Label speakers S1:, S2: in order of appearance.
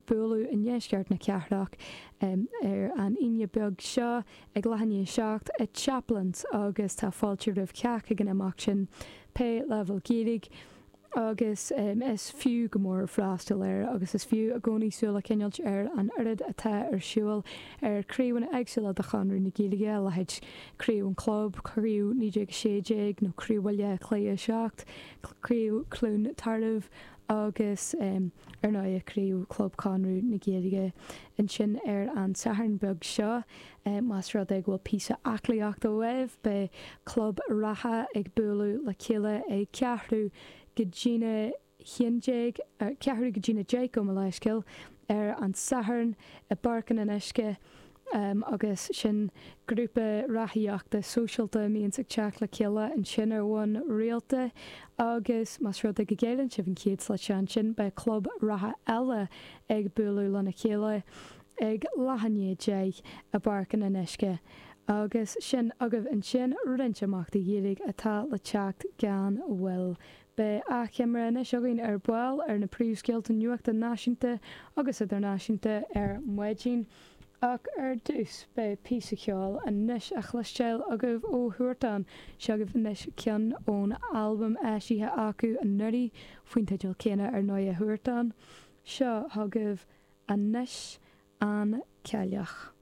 S1: bualadh i ndeisceart na cathrach ar an Aoine beag seo ag leath i ndiaidh 7 i Chaplin's agus tá fáilte roimh chách ag an imeacht sin, pé leibhéal Gaeilge. Agus is fiú go mór freastal air agus is fiú i gcónaí súil a choinneáilt ar an oiread atá ar siúl ar chraobhanna éagsúla de Chonradh na Gaeilge, a leithéid Craobh an Chlub, Craobh 1916 nó Craobh Bhaile Átha Cliath 7, Craobh Chluain Tarbh agus ar ndóigh Craobh Chlub Chonradh na Gaeilge ansin ar an Satharn beag seo. Más rud é go bhfuil píosa aclaíochta uaibh, beidh Club Reatha ag bualadh le chéile ag ceathrú go dtína haon déag, ceathrú go dtína deich, gabh mo leithscéal, ar an Satharn i bPáirc an Fhionnuisce agus sin grúpa reathaíochta sóisialta a mbíonns ag teacht le chéile ansin ar bhonn rialta agus más rud é go gcailleann sibh an chéad slot seo ansin beidh club reatha eile ag bualadh lena chéile ag leath i ndiaidh 10 i bPáirc an Fhionnuisce. Agus sin agaibh ansin roinnt imeachtaí Gaeilge atá le teacht gan mhoill. Beidh achoimre anois againn ar ball ar na príomhscéalta nuachta náisiúnta agus idirnáisiúnta ar maidin. Ach ar dtús, beidh píosa ceoil anois á chloisteáil agaibh ó Huartan. Seo agaibh anois ceann ón albam eisithe acu anuraidh, faoin teideal céanna ar ndóigh, Huartan. Seo chugaibh anois An Cailleach.